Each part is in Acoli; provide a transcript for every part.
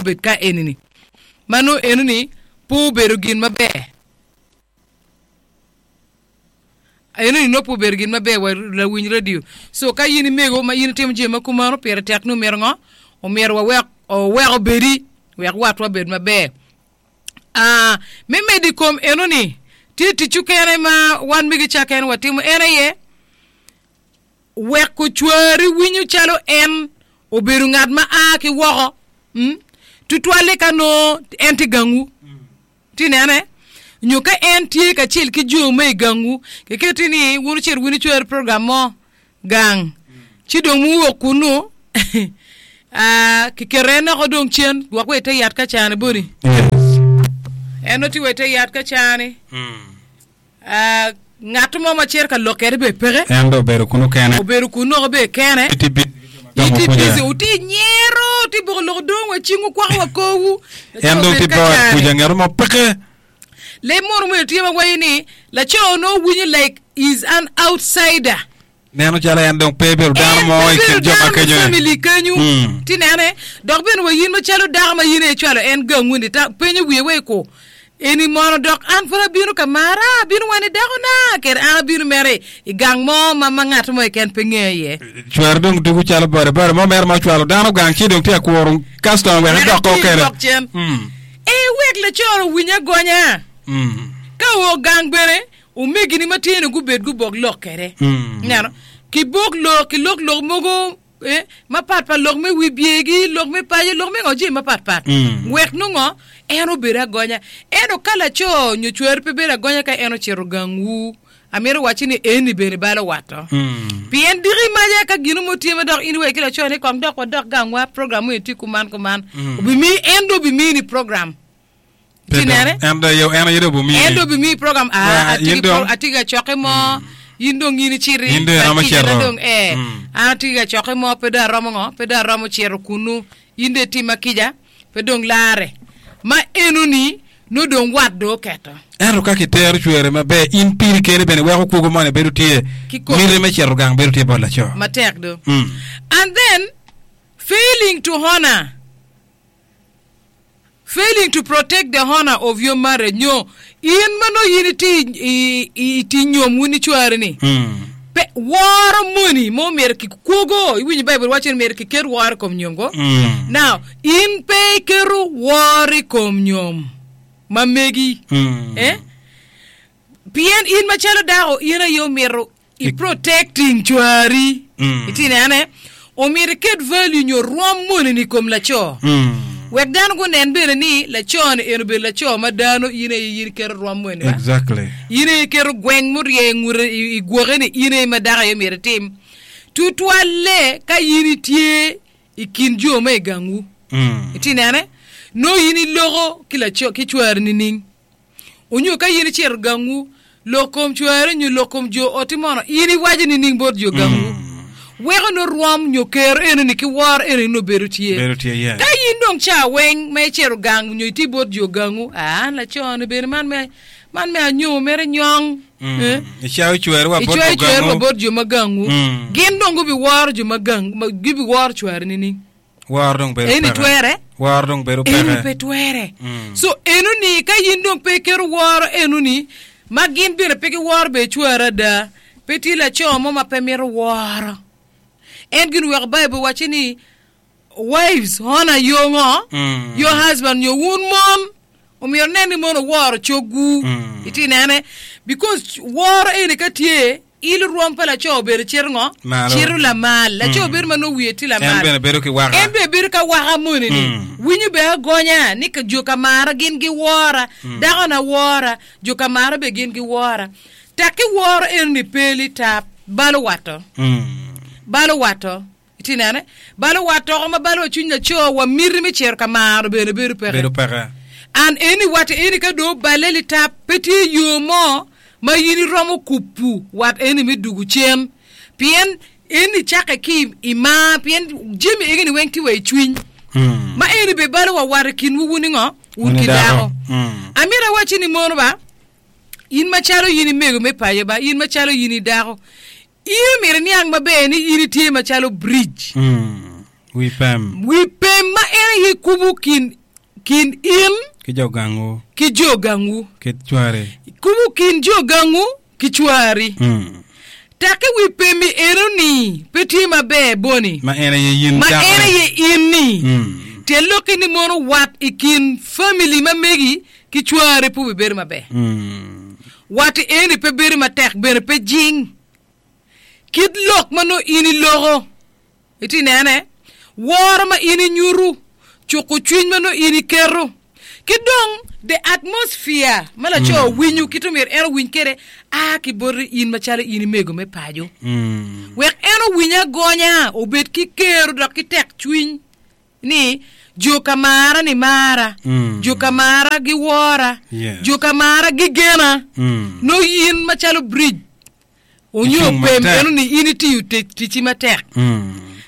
obed ka eni-ni. Ma nongo eno-ni pe obedo gin maber. Eno-ni nongo pe obedo gin maber wa lawiny radio. So ka in imego ma in itimo jami ma kumano pire tek ni omyero ngo? Omyero wawek owek obedi wek watwa obed maber. Aa, me medo i kom eno-ni, tye tic okene ma wan mege cakken watimo en aye weko cwari winyo calo en obedo ngat ma a ki woko, mm, tutwalle ka nongo en tye gangwu. Tye inene? Nyo ka en tye kacel ki jo ma i gangwu, kiketi ni wun wucit wun icwer program mo gang, ci dong muwok kunnu, ah, kiketo en oko dong cen, gwok wa i te yat ka cani boni. Yes. En nongo tye wa i te yat ka cani. Ah, ngat mo ma cito ka lok kede bene peke. En dong obedo kunu kene. Obedo kunu oko bene kene. Itye busy ki jo ma Itye gamo busy, kuca. wutye nyero, wutye boko loko dong wa cingwu kwako wa korwu. Laco En dong obedo tye ka bot cani. kuca ngat mo peke. Leb mono myero tye ma waco ni laco nongo winyo like is an outsider. Neno calo en dong pe ebedo dano En mo pe i bedo kin jo ma dano me kenyo-ni. family kenyo. Mm. Ti nene, dok bene wa in macalo dako ma in aye icwalo en gangwu-ni, ta penyo wiye wek ku, Eni mono dok an pud abino ka mara, abino wa ni dakona, kede an abino mere i gang mo ma ma ngat mo keken pe ngeya iye. Cware dong tuko calo boda boda mo mere ma ocwalo dano gang ci dong tye ka kuro custom wek Wek edok atir kede. dok cen. Mm. E wek laco owiny agonya. Mm. Ka oo gang bene, Omegini matino gubed gubok lok kwede. Ineno? Kibok lok, kilok lok mogo eh, mapatpat, lok me wibyegi, lok me paco, lok me ngo, jami mapatpat. Wek nongo en obed agonya. Ento ka laco nyo cwari pe bedo agonya ka en ocito gangwu, amito wacci ni eni bene balo watto. Pien diki maca ka gino mo tye ma dok in iwaco ki laco ni kong dok wadok gangwa, program mo tye kuman kuman, obimiyi, en dong obimini program. Pe Ci dong, nene? en dong aye, en aye dong obimiyi. En dong obimiyi program, Ah, ah, atye in ki dong- pro- atye ka cokke mo, in dong in iciti, In dong iromo akicana cito. dong, eh, Mm. an atye ka cokke mo, pe dong aromo ngo, pe dong aromo cito kunnu, in dong itima kica, pe dong larre. Ma enoni, nongo dong wat dong oketo. Ento ka kitero cwere maber, in piri keni bene weko kwogo moni bedo tye, Kikome. miti me cito gang bedo tye bot laco. Matek do. Mm. And then, failing to honor. Failing to protect the honor of your marriage nyo in ma nongo in itye i nyom wun ki cwari ni pe woro moni mo myero ki kwogo iwinyo Baibul waco ni myero kiket woro i kom nyom ko now in pe iketo woro i kom nyom ma megi eh pien in macalo dako in aye omito I protecting cwari. Itye nene? Omyero iket value nyo rwom moni ni i kom laco. Wek dano gunen bene ni laco ni en obedo laco ma dano in aye in iketo rwom moni ba. Exactly. In aye iketo gweng murye ngute i gwoke ni in aye ma dako aye myero itim. Tutwalle ka in itye i kin jo ma i gangwu. Itye nene? Nongo in iloko ki laco ki cwari nining? Onyo ka in icito gangwu, lok kom cwari nyo lok kom jo otti mono, in iwaco nining bot jo gangwu? Weko nongo rwom nyo kero enoni ki woro enoni nongo bedo tye. Bedo tye, yes. Ka in dong ca weng ma icito gang nyo itye bot jo gangwu, ah, laco-ni bene man me man me anyomo mere nyong. Eh? Icayo cweri wa bot Icwayo jo cweri wa gangwu. bot jo ma gangwu. Gin dong gubiworo jo ma gang, ma gibiworo cwari nining? Woro dong bedo Eni peke. twere? Woro dong bedo Eni peke. pe twere. So enoni ka in dong pe iketo woro enoni ma gin bene pe giworo bene cwari ada, pe tye laco mo ma pe mito woro. En gin oweko Baibul wacci ni wives honor your ngo? Your husband nyo wun mon omyero nen ni mon wuworo cogwu. Itye nene? Because woro eni ka tye Ilo rwom pa laco obedo cito ngo? Malo. Cito lamal. Laco bedo ma nongo wiye tye lamal. En bene bedo ki waka. En bene bedo ka waka moni ni. Winyo bene agonya ni ka jo ka mara gin giwora, dakona wora, jo ka mara bene gin giwora. Tek ki woro eno ni pe litap, balo watto. Balo watto. Itye nene? Balo wat toko ma balo wa cwiny laco wa miti me cito ka maro bene bedo peke. Bedo peke. An eni wat eni ka dong oballe litap pe tye yo mo ma in iromo kubu wat eni me dugu cen pien eni cake ki i mar pien jami egi ni weng tye wa i cwiny ma eni be balo wa wat i kinwu wun ningo? Wun ki dako. Amito awacci ni mono ba in macalo in i mego me paco ba in macalo in i dako In omyero iniang maber ni in itye macalo bridge. Wi pem. Wi pem ma en aye kubo kin kin in Ki jo gangwu. ki jo gangwu. Ki cwari. Kubo kin jo gangwu ki cwari. Mm. Takke wi pem-mi eno-ni pe tye maber boni. Ma en aye in Ma dako en ni. aye in ni. Mm. Tyen lokki ni mono wat i kin famili ma megi ki cwari pe obibedo maber. Mm. Wat eni pe bedo matek bene pe jing. Kit lok ma nongo in iloko, itye nene, woro ma in inyuto, cuko cwiny ma nongo in iketo, ki dong the atmosphere ma laco winyo kit omyero en owiny kwede a ki boti in macalo in imego me paco. Wek en owiny agonya, obed ki kero dok ki tek cwiny ni jo ka mara ni mara, jo ka mara giwora, Yes. jo ka mara gigena. Nongo in macalo bridge onyo Icung pem matek. eno ni in itiyo tic ticci matek.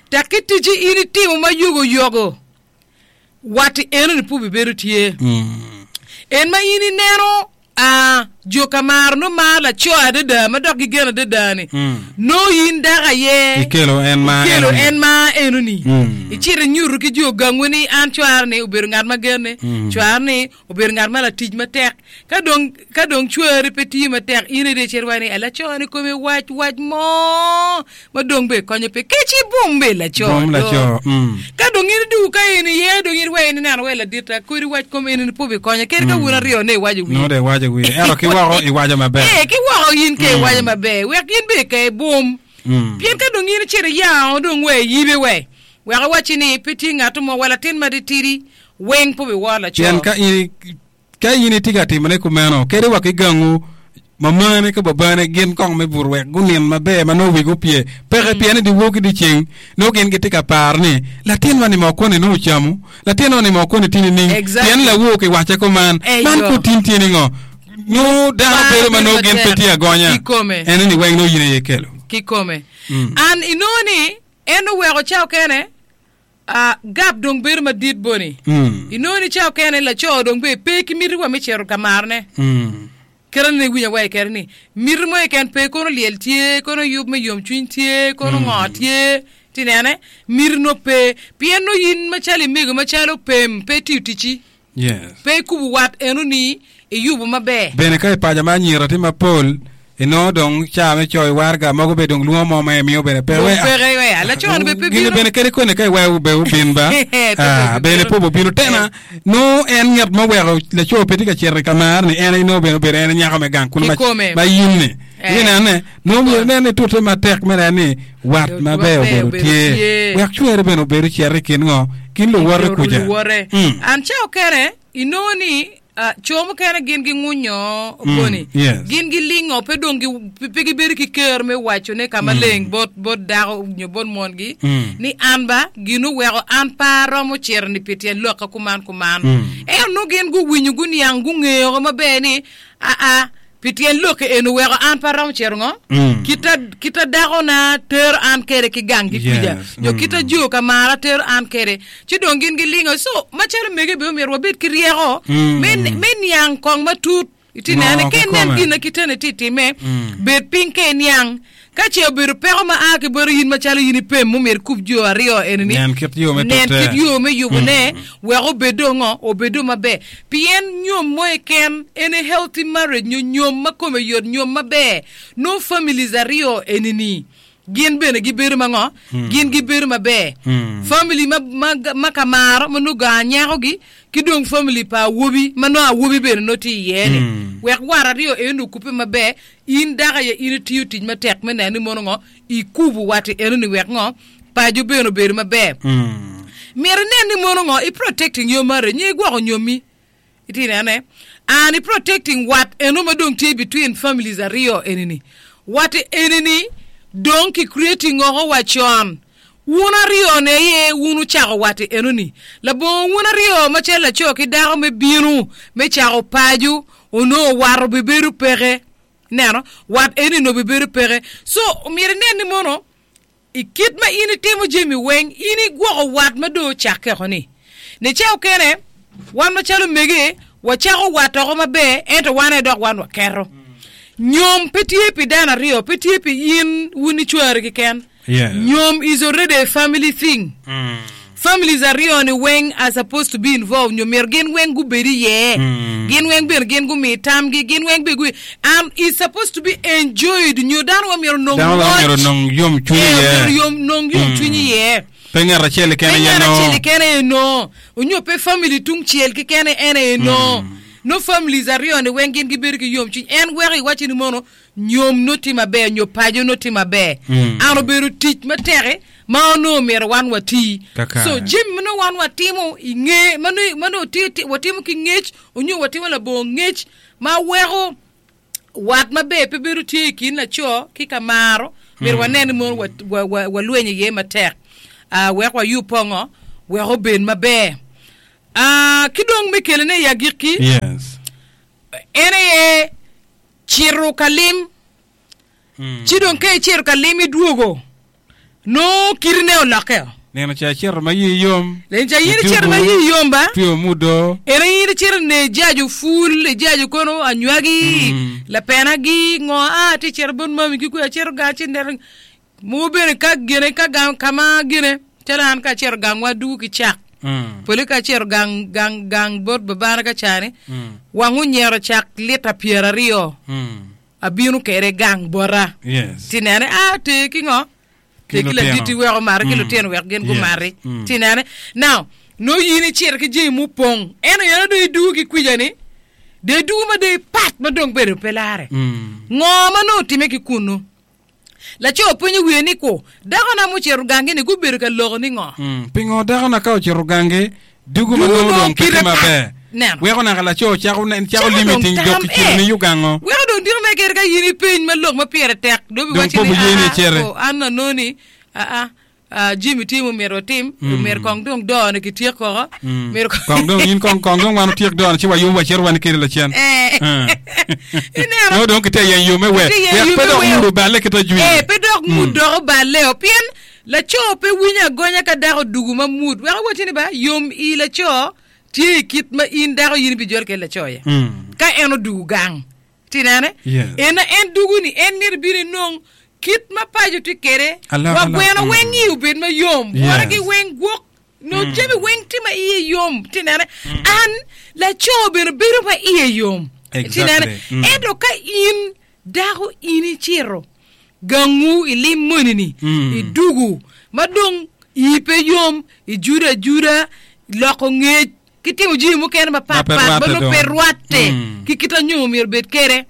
Tek ki ticci in itimo ma yogo yogo, watti eno ni pud bibedo tye. En ma in ineno a jo ka maro nongo maro laco adada ma dok gigeno adada ni nongo in dako aye Ikelo en ma ikelo eno ni. en ma eno ni. Mm. Icito inyuto ki jo gangwu ni an cwara ni obedo ngat ma genne, cwara ni Obedo ngat ma latic matek. Ka dong, ka dong cwari pe tiyo matek, in aye icit iwaco ni, Laco-ni kome wac wac mo ma dong bene konye pe. Kec ibum be laco Bum do. laco, mm. Ka dong in idwogo ka in iye, dong in iwaco ni neno wai laditta, kodi wac kom eni ni pe obikonye. Kadi ka wun aryo ne iwaco wiye. Nongo dong iwaco wiye. Ento ki woko iwaco maber. Ee, ki woko in ka iwaco maber, wek in bene ka ibum. Mm. Pien ka dong in icito iyango dong wai iyibe wai. Wek awacci ni pe tye ngat mo wa latin matitidi weng pe obiworo laco. Pien ka in ka in itye ka timone kumeno, kadi wa ki gangu, mamane ki babane gin kong me buto wek gunin maber ma nongo wigi opye peke, pien i dyewor ki dyeceng nongo gin gitye ka paro ni, 'Latinwa-ni moo koni nongo ocamo? Latinwa-ni moo koni tye nining? Exactly. Pien lawor kiwacce kuman, Eyo. man pud tin tye ningo? Nongo dano Par bedo ma bedo nongo gin pe matek. tye agonya. Kikome. Eno ni weng nongo in aye ikelo. Kikome. An inongo ni en oweko ca okene Gap dong bedo madit boni. Inongo ni ca okene laco dong be pe ki miti wa me cito ka marone. Kite ni iwinyo wa kede ni miti mo keken pe kono lyel tye, kono yub me yomcwiny tye, kono ngo tye, ti nene miti nongo pe pien nongo in macalo imego macalo pem pe itiyo ticci. Yes. Pe ikubo wat eno ni iyubo maber. Bene ka i paco ma anyira tye mapol, inongo dong ca me coyo waraga mogo bene dong lwongo mo ma imiyo bene pe. Dong We, peke we, laco ni bene pe Gini bino. bene kadi kone ka iweyo be obin ba. Pe Ah, pe bene bino. pe obino. Tena, nongo en ngat ma oweko laco pe tye ka cito i ka mar ni en aye nongo bene obedo en nyako me gang kunu ma, Kikome. ma in ni. Eh. Inene, nongo myero inen ni tute matek me neno ni wat Wat maber maber obedo obedo tye. tye. Wek cwere bene obedo cito i kin ngo? Kin luwote kuca. Luwote. Mm. An ca okene inongo ni ah, co mukene gin gingunyo boni. yes. Gin gilingo pe dong gi- pe gibedo ki ker me wacone ka maleng bot bot dako nyo bot mongi Mm. ni an ba gin oweko an pe aromo cito ni pi tyen lokka kuman kuman. Mm. Ento nongo gin guwinyo guniang gungeyo maber ni aa Pi tyen lok eni oweko an pe aromo cito ngo? Kita, kita dakona tero an kede ki gang ki kwija, Yes. nyo kita jo ka mara tero an kede. Ci dong gin gilingo. So, macalo mege bene omyero wabed ki ryeko me, me niang kong matut. Iti Ngo nene, ka inen kikome. gin na kitene ti time, bed piny ka iniang. Ka ce obedo peko ma a ki boti in macalo in ipem mumyero ikub jo aryo eni-ni, Nen kit yo me nen tute. kit yo me yubone wek obed dong ngo? Obedo maber. Pien nyom mo keken en a healthy marriage nyo nyom ma kome yot, nyom maber, nongo families aryo eni-ni gin bene gibedo ma ngo? Gin gibedo maber. Family ma, ma, ma ka maro ma nongo gang nyakogi ki dong family pa awobi ma nongo awobi bene nongo tye iye-ni. Wek war aryo eni okubbe maber, In dako aye in itiyo tic matek me neno ni mono ngo ikubo wat i enoni wek ngo paco bene obedo maber. Myero inen ni mono ngo i protecting your marriage nyo igwoko nyomi. Itye nene? And i protecting wat eno ma dong tye between families aryo enini. Wat enini dong ki creating oko wa con. Wun aryo ni aye wun wucako wat i enoni. Labongo wun aryo macalo laco ki dako me bino me cako paco onongo wat obibedo peke. Ineno? Wat eni onongo obibedo peke. So, omyero inen ni mono i kit ma in itimo jami weng, in igwoko wat ma dong ocakke oko ni. Nica okene, wan macalo mege, wacako wat oko maber, ento wan aye dok wan waketo. Nyom pe tye pi dano aryo, pe tye pi in wun ki cwari keken. Yes. Nyom is already a family thing. Families aryoni weng are supposed to be involved nyo myero gin weng gubed iye. Gin weng bene gin gumi tamgi, gin weng bene gui and is supposed to be enjoyed nyo dano weng myero onong Dano weng moc. myero onong yomcwiny Eh, iye. myero yom, nong yomcwiny iye. Pe ngat acel keken Pe aye ngat acel nongo. keken aye nongo. Onyo pe family tung cel keken en aye nongo. No families aryoni weng gin gibedo ki yomcwiny. En weko iwacci ni mono Nyom nongo tye maber nyo paco nongo tye maber. An obedo tic matek ma onongo myero wan wati. Kakare. So jami ma nongo wan watimo i nge ma nongo ma nongo tye tye watimo ki ngec onyo watimo labongo ngec ma weko wat maber pe bedo tye i kin laco ki ka maro myero wanen ni mono wa wa wa walwenyo iye matek ah wek wayub pongo wek obed maber. Ah ki dong me kelone i agikki Yes. en aye Cito ka lim, ci dong ka icito ka lim idwogo, nongo kitine olokkeo. Nino ca icito ma iyi yom. Nino ca in icito ma iyi yom ba. Tye omudo. Eno in icito ne ijajo pul, ijajo kono anywagi, lapenagi, ngo a atye cito bot mami ki kwe acito gang ci neno Mogo bene ka gine ka gang ka ma gine calo an ka acito gangwa adugo ki cak pole ka acito gang gang gang bot babana ka cani wang onyero cak lita 20 abino kede gang bota Yes. ti nene a ter ki ngo Ki ter ki laditi lutino. wek omati ki lutino wek gin Yes. gumati ti nene now nongo in icito ki jami mupong ento eno dong idugo ki kwica ni dong idugo ma dong ipat ma dong bedo pe lare ngo ma nongo otime ki kunu Laco openyo wiye ni, Ku, dakona mucito gangi-ni gubedo ka loko ni ngo? Pingo dakona ka ocito gangi, dugo ma Dugo nongo dong pe kite tye pat. maber? Neno. Weko naka laco cako nen, cako Cako limi dong ting tam, dok kicito eh. ni yugango. Weko dong diko me kede ka in ipeny ma lok ma pire tek, dong Dong biwacci pe ni, obiye ni Aa, iciti. oh, an anongo ni, aa, aa, jami tye ma myero watim, myero kong dong doo-ni kityek koko, myero kong Kong dong in kong kong dong wan otyek doo-ni ci wayub wacito wan kede lacen. Eh. Eh. Ineno? Nongo dong kitye yenyo yo me wer. Kitye yenyo Wek yo pe me dok wer. ngud oballe kit ajwi. Eh, pe dok ngud dok oballe-o, pien laco pe winyo agonya ka dako odugu ma mut. Wek awacci ni ba, yom i laco tye i kit ma in dako in ibijolo kwede laco iye. Ka en odugu gang. Ti nene? Yes. En en dugu ni en myero ibin inong kit ma paco tye kwede. Alok, Wa alok. gweno Mm. weng i obed ma yom. Yes. Bwora ki weng gwok. No jami weng tye ma iye yom. Ti nene? An laco bene bedo ma iye yom. Ti Exactly. nene? Mm. Ento ka in dako in icito gangu ilim moni-ni, Mm. idugu ma dong ii pe yom, ijudo ajuda, iloko ngec, ki timo jami mukene Ma mapat pe pat ma rwatte nongo dong. pe rwatte Mm. ki kit anyom omyero obed kwede.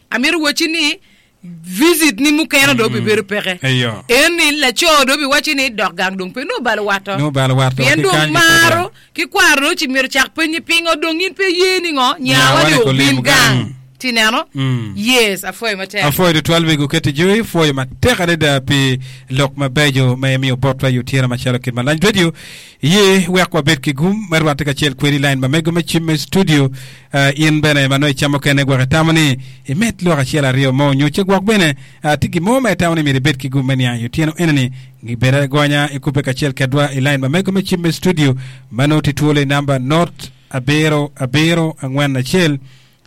Amito wacci ni visit ni mukene dong obibedo peke. Eyo. En ni laco dong obiwacci ni dok gang dong pe nongo obalo watto. Nongo obalo watto, Pien ki dong kany ki maro kwede. ki kwaro dong ci myero cak penyi pingo dong in pe iye ni ngo Nyawa nyawa ni ni obin olim gang. gang. Ti neno? Mm. Yes, apwoyo matek. Apwoyo tutwal wego keti joy, pwoyo matek adada pi lok mabeco ma imiyo botwa i otyeno macalo kit ma Lanj Radio iye wek wabed ki gum me rwatte kacel kwedi i lain ma mego me cim me studio. Uh, in bene ma nongo icamo kene gwok itamo ni imed lok acel aryo mo nyo ce gwok bene uh, tye gin mo ma itamo ni myero ibed ki gum me niang i otyeno enoni gibed agonya ikubbe kacel kedwa i lain ma mego me cim me studio ma nongo tye twolo i namba not abiro abiro angwen acel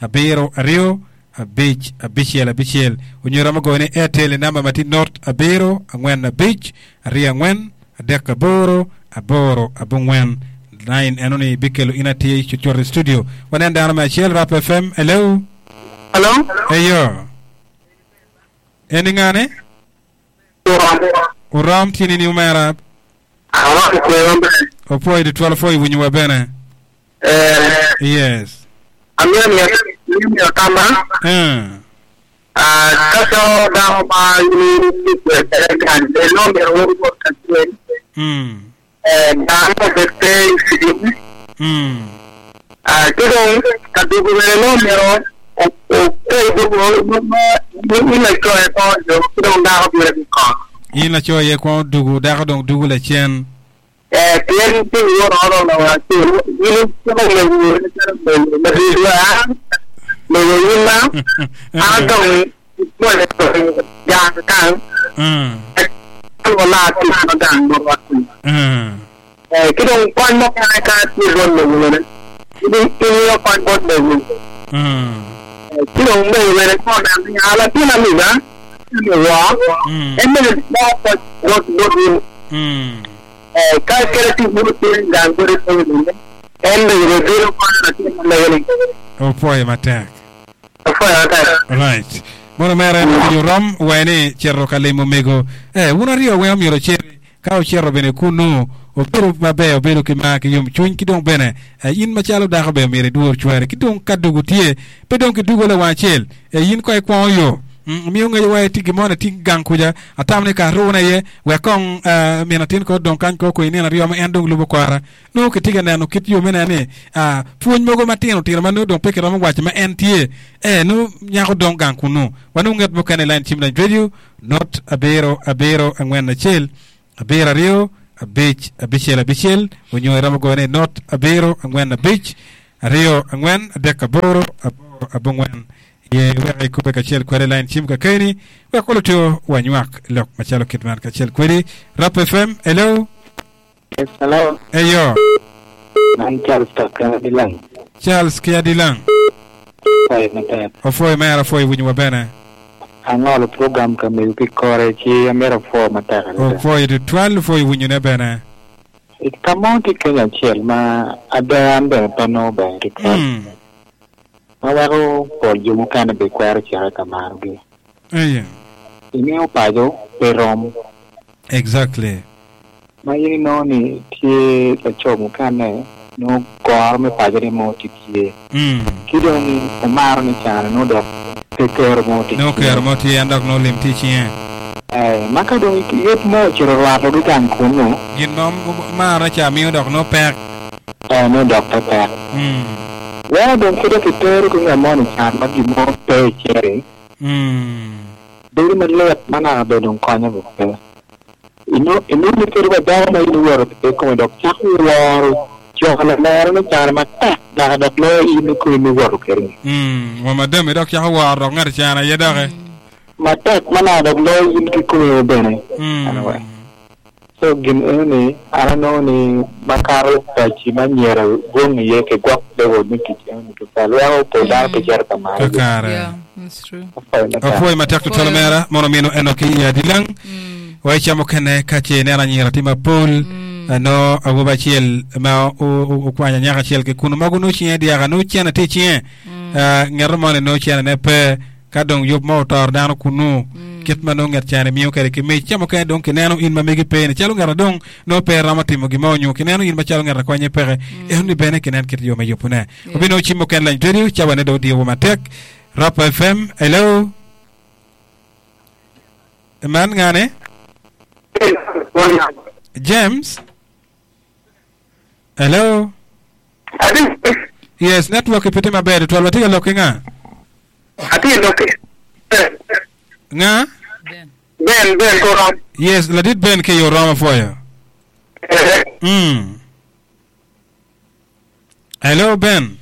abiro aryo abic abicel abicel onyo iromo goyo ni Airtel i namba ma tye not abiro angwen abic aryo angwen adek aboro aboro abongwen line eno ni bikelo in atir cucut i studio wanen dano me acel Rap FM hello Hello? eyo eni ngane Urom. Urom tye nini omera Aromo kwe maber. Opwoyo tutwal opwoyo winyo wa bene Eh, Yes. amito miyo amito miyo tamma. Eh. Ah, ka co dako ma in itye kwede gang, bed nongo myero wun wubed kacel. Mm. Eh, gang obed pe i cim. Mm. Ah, ki dong ka dugo bene nongo myero okel dugo ma in laco aye pe odugo ki dong dako bino ki kongo. In laco aye kwongo dugo, dako dong dugo lacen. Ee, pien ceng woro oromo acel, in iciko mego macalo mego madit wa mego in ma an dong imwonyo gang kany, wala tic ma gang botwa kunu. Ee, ki dong kony mukene ka tye bot mego bene, imiyo kony bot mego. Ee, ci dong mego bene ka oneno ni a latin amiga, amiga, en bene moko kony bot in. Ka kede tic mo tye gang kodi pe bene, en bene bino konyo latin ma mege ni. Opwoyo matek. Apwoyo matek. Right. Mono mere en obedo rom wa ni cito ka limo mego. Eh, wun aryo weng omyero wuciti. Ka wucito bene kunnu, wubedo maber, wubedo ki mar ki yomcwiny, ki dong bene eh, in macalo dako bene myero idwor cwari. Ki dong ka dugu tye, pe dong kidugo lawang acel. Eh, in kong ikwongo yo. Mm, miyo ngeyo wa itye gin mo ni tye gang kuca, atamo ni ka arune iye, wek kong eh, min atin kong odong kany kong kong nino aryo ma en dong lubo kora. Nongo kitye ka neno kit yo me neno ni ah, pwony mogo matino tino ma nongo dong pe kiromo waco ma en tye, eh, nongo nyako dong gang kunnu. Wanongo nget mukene i lain cim lany radio, not abiro abiro angwen acel abiro aryo abic abicel abicel onyo iromo goyo ni not abiro angwen abic aryo angwen adek aboro aboro abongwen ye wek ikube kacel kwede i lain cim kakeni wek oluto wanywak lok macalo kit man kacel kwedi. Rap FM, hello. Yes, hello. Eyo. Man Charles Kaka Adilang. Charles ki Adilang. Opwoyo matek. Opwoyo mere, opwoyo winyo wa bene. Angolo program ka mego ki kore ci amito apwo matek adada. Opwoyo tutwal, opwoyo winyo ne bene. I ka mo tye keny acel ma ada an bene pe anongo ber tutwal. Mm. Ma weko pol jo mukene be kwero cito ka marogi. Eye. Ingeyo paco pe rom. Exactly. Ma in inongo ni tye laco mukene nongo goro me pacone mo tye tye. Ki dong omaro ni cano nongo dok pe kero mo tye Nongo tye. kero mo tye en dok nongo lim tye i cinge. Eh, ma ka dong yot mo ocito orwato ki gang kunu. Gin ma omarone ca miyo dok nongo pek. Eh, nongo dok pe pek. Weko dong kite kitero ki ngat mo ni can ma gin mo pe i cere. Bedo malit ma naka bene dong konyo bene pe. Inongo ni kadi wa dako ma in iwoto kwede kome dok cako woro coko lamere me cane matek naka dok loyo in kome ma iwoto kwede-ni. Wa madam idok cako woro dok ngat icano aye doki. Matek ma naka dok loyo in kikomi bene. Anyway. So gin eno ni an anongo ni makato paci ma myero gwong iye ki gwok level me tic eno ni tutwal weko pol dano pe cito ka maro gi. Kakare. Yeah, that's true. Apwoyo matek. Apwoyo matek tutwal Apwoyo. omera mono mino eno ki i adilang wa i ca mukene ka ce ineno anyira tye mapol no awobi acel ma okwanyo anyaka acel ki kunu ma nongo cinge dyaka nongo cene tye i cinge ngeto moni nongo cene ne pe Ka dong yub mo otoro dano kunnu, kit ma nongo nget ca-ni miyo kwede ki mic, ca mukene dong kineno in ma megi pe-ni calo ngat a dong nongo pe romo timo gin mo nyo kineno in macalo ngat a konye peke. Enoni bene kinen kit yo me yubone. Wabinongo cim mukene lany radio, cawane dong odiyowa matek. Rap FM, hello. Man ngane? James? Hello? Yes, network pe tye maber tutwal. Watye ka lok ki nga? Atye lok ki Ben. Nga? Ben. Ben, Ben Korom. Yes, ladit Ben ki i Oromo apwoyo. Eh, Mm. Hello Ben.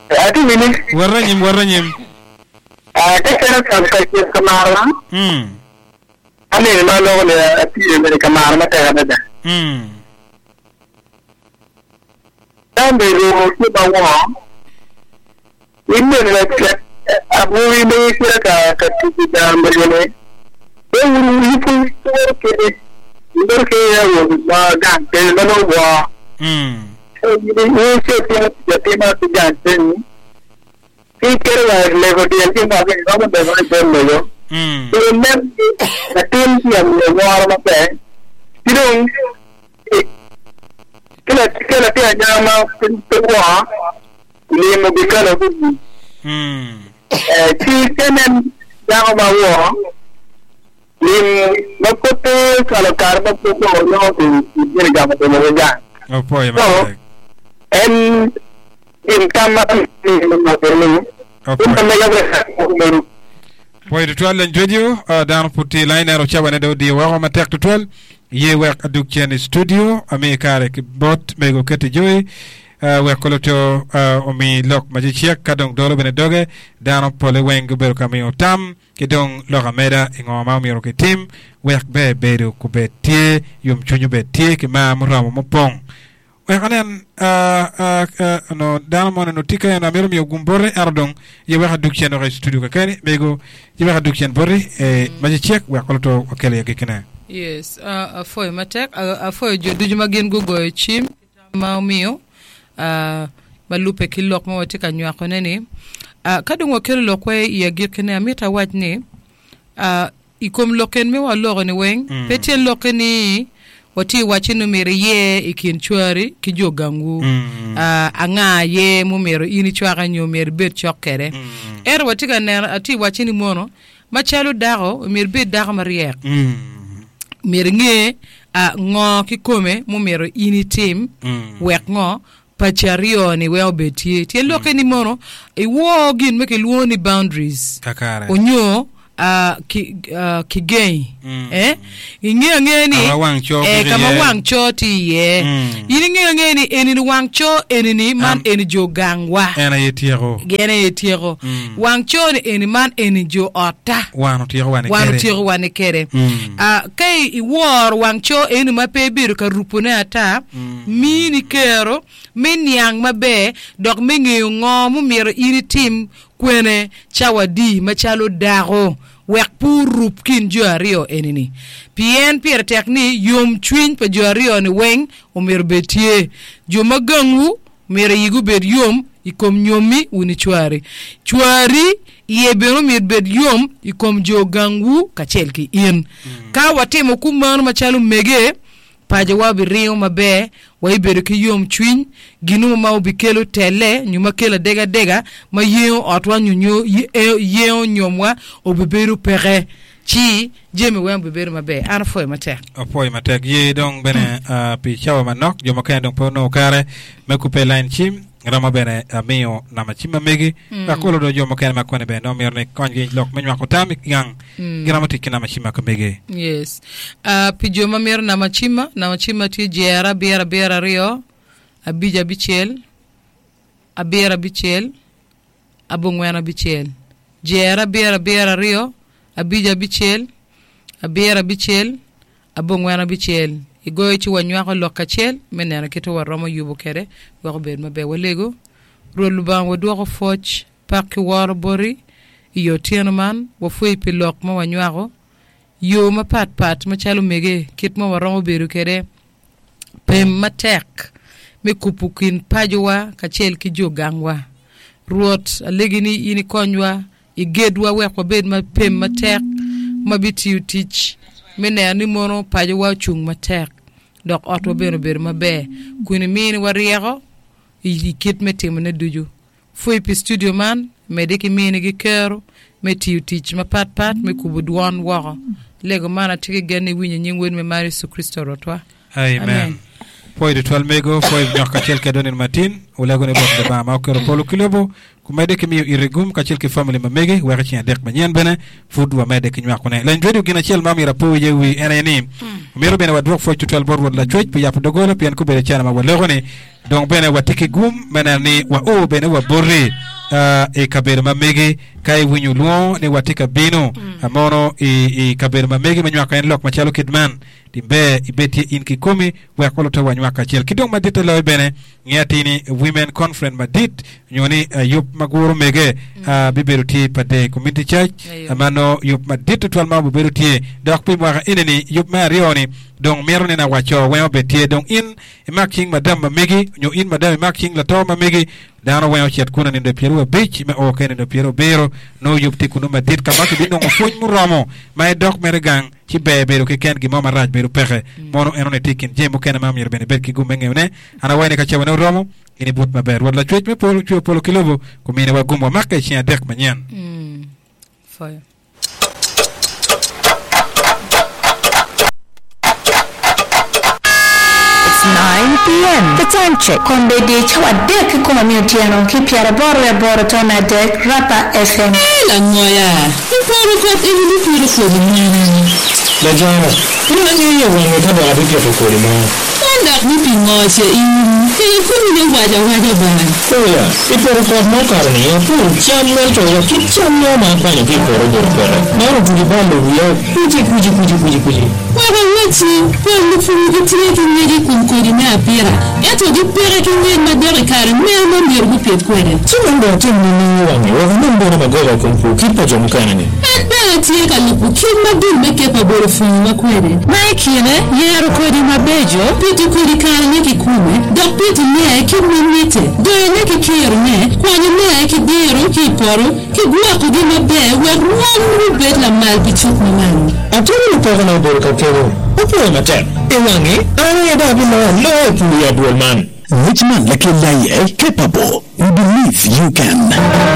atye wini. Wot anyim, wot anyim. Ah, ka ceno ka ka ka maro. Mm. Aneno ma loko ni atye bene ka maro matek adada. Mm. Ka mego tye ma wor, in bene lacek awobi ma gicito ka tic i gang mego-ni, pe wun pud wuwoto kwede, wuwoto ki awobe ma gang kene ma nongo wor. In icit timo tic atima ki gang keni, ki iketo wa i lego dyel ki mwaki iromo legone bot mego, pe inen ni latin tye ka miyo woro maber, ki dong Ki latin anyaka ma pe wor, limo bikelo ki Ci ka inen dako ma wor, lim ma pud pe ocwalo kare ma pud dong onongo kibino gamo limo ki gang. Opwoyo So, matek. en gin tam ma ni in Opwoyo. ma mega bene Pwoyo tutwal leny radio, dano pud tye i lain ento cawane dong odiyo woko matek tutwal. Ye wek adug cen i studio, ami kare ki bot mego Ketty Joy wek koloto omi lok ma cecek ka dong dolo bene doge. Dano pole weng gubedo ka miyo tam ki dong lok ameda i ngo ma omyero kitim wek ber bedo kubed tye, yomcwiny obed tye ki mar muromo mupong. Wek anen onongo dano moni onongo tye ka en amito miyo gum boti ento dong ye wek adug cen woko i studio kakeni mego ye wek adug cen boti ma cecek wek oluto wakel i agikkine. Yes, uh, apwoyo matek. Uh, apwoyo jo ducu ma gin gugoyo cim ki tam ma omiyo uh, ma lubbe ki lok ma watye ka nywakone ni. Uh, ka dong wakelo lokwa i agikkine, amito awac ni uh, I kom lok en me waloko ni weng, pe tyen lokke ni watye i wacce ni myero iyer i kin cwari ki jo gangwu. Anga aye mumyero in icwake nyo myero ibed cok kwede. Ento watye ka neno, atye i wacce ni mono, macalo dako, myero ibed dako maryek. Myero inge ngo kikome mumyero in itim wek ngo paci aryo-ni wek obed tye. Tyen lokke ni mono iwor gin ma kilwongo ni boundaries Kakare. onyo ah, ki, ah, kigengi. Eh? Ingeyo angeya ni Kama wang coo eh, gik kama iye. wang coo tye iye. In ingeyo angeya ni eni ni wang coo eni-ni man Am- eni jo gangwa. En aye tyeko. Gin aye tyeko. Wang coo ni eni man eni jo otta. Wan otyeko wa ni Wan kede. otyeko wa ni kede. Ah, ka i- iworo wang coo eni ma pe ibedo ka rupone ata, Mini kero me niang maber dok me ngeyo ngo mumito in itim kwene cawa adi macalo dako wek pe orub kin jo aryo eni-ni. Pien pire tek ni yomcwiny pa jo aryo-ni weng omyero obed tye. Jo ma gangwu myero igi obed yom i kom nyommi wun cwari. Cwari iye bene omyero obed yom i kom jo gangwu kacel ki in. Ka watimo kumeno macalo mege, Pacowa obiringo maber, waibedo ki yomcwiny, gin ma obikelo telle nyo ma kelo adegadega ma yengo otwa nyo yengo nyomwa obibedo peke, ci jami weng obibedo maber. An apwoyo matek. Apwoyo matek. Ye dong bene pi cawa manok, jo mukene dong pe onongo kare me kubbe i lain cim. Romo bene miyo namba cim ma megi wek olo do jo mukene ma koni bene nongo mito ni konygi i lok me nywako tam i gang giromo tic ki namba cim ma ka megi. Yes. Pi jo ma mito namba cimma, namba cimma tye jero abiro abiro aryo, abic abicel, abiro abicel, abongwen abicel. Jero abiro abiro aryo, abic abicel, abiro abicel, Abongwen abicel, igoyo ci wanywako lok kacel me neno kit ma waromo yubo kwede wek obed maber. Walego, Rwot Lubanga wadwoko pwoc, pak ki woro boti i otyeno man. Wapwoyi pi lok ma wanywako, yo mapat pat macalo omege kit ma waromo bedo kwede pem matek me kubo kin pacowa kacel ki jo gangwa. Rwot, alegi ni in ikonywa Igedwa wek wabed ma pem matek ma bitiyo tic me neno ni mono pacowa ocung matek dok otwa bene obedo maber kun iminiwa ryeko i kit me timone ducu. Pwoyi pi studio man, medde ki minigi kero me tiyo tic mapatpat me kubo dwon woko. Lego man atye ki gen ni iwinyo i nying Wod me mar Yecu Kricito Rwotwa. Amen. Pwoyi tutwal mego, pwoyi nyok kacel kedwa nino matin. Wulego ni Rwot Lubanga ma oketo polo ki lobo Kumedde ki miyo iti gum kacel ki famili ma megi wek i ceng adek manyen bene pud wamedde ki nywakone. Leny radio gin acel ma omyero apo iye wi en aye ni, omyero bene wadwok pwoc tutwal bot Rwot Lacwec pi yabo dogola pien gubedo cana ma waloko ni dong bene watye ki gum me neno ni wao bene wa boti i kabedo ma megi. Ka iwinyo lwongo ni watye ka bino mono i kabedo ma megi me nywako en lok macalo kit man, tim ber ibed tye in kikomi wek olutte wanywak kacel. Ki dong maditte loyo bene, Nge atir ni Women Conference madit nyo ni yub ma guro mege bibedo tye pa The Community Church ma nongo yub madit tutwal ma obibedo tye dok pi mwaka eni ni yub me aryo ni dong mito ni na waco weng obed tye dong in imak cing madam ma megi nyo in madam imak cing lato ma megi dano weng ocit kunu nindo 25 me o kene nindo 70 nongo yub tye kunu madit ka ma kibinongo pwony muromo ma idok mere gang ci ber bedo keken gin mo marac bedo peke. Mono enoni tye i kin jami mukene ma myero bene ibed ki gum me ngeyone. An awaco ni ka cabane oromo, in ibut maber. Rwot Lacwec me polo ocweyo polo ki lobo, guminiwa gum wamake i ceng adek manyen. Fire. It's 9 PM. The time check. Kombeddi cawa adek kikome me otyeno ki pyeraboro wiye aboro tone adek, Rapa FM. Ee langoya, iporo kot eni ni piro kodi mene? Lajana, pe angeyo wange ka dok abipito kodi mo. Man dok ni pi ngo ce in kelo komi me waco awaca bene? Oya, i poto kot ma okato-ni apuro cam ento wa kit cam mo ma akwanyo ki i poto obedo peke. Man otuco balo wiya kuci kuci kuci kuci kuci. Wek awacci, pol lupur gitye ki ngec i kom kodi me apita, ento gipeke ki ngec madok i kare meno ma myero gupit kwede. Ci man dong atim nining i wangi wek anen bene magoba i kom pur kit pa jo mukene-ni? En bene tye ka lubo kit ma dul me Ker pa Bolo pwonyowa kwede, ma i kine, yero kodi mabeco, pito kodi karene kikome, dok pitone kit ma mitte, doyone ki kirone, kwanyone ki diro ki i poto, ki gwokogi maber wek rwom gubed lamal pi cuk ma malo. Atwero ni pekona obedo ka kelo opwoyo matek i wangi, an aye dong abiloyo aloya i pur i adwol man. Ngec man lakel aye, Capable, we believe you can.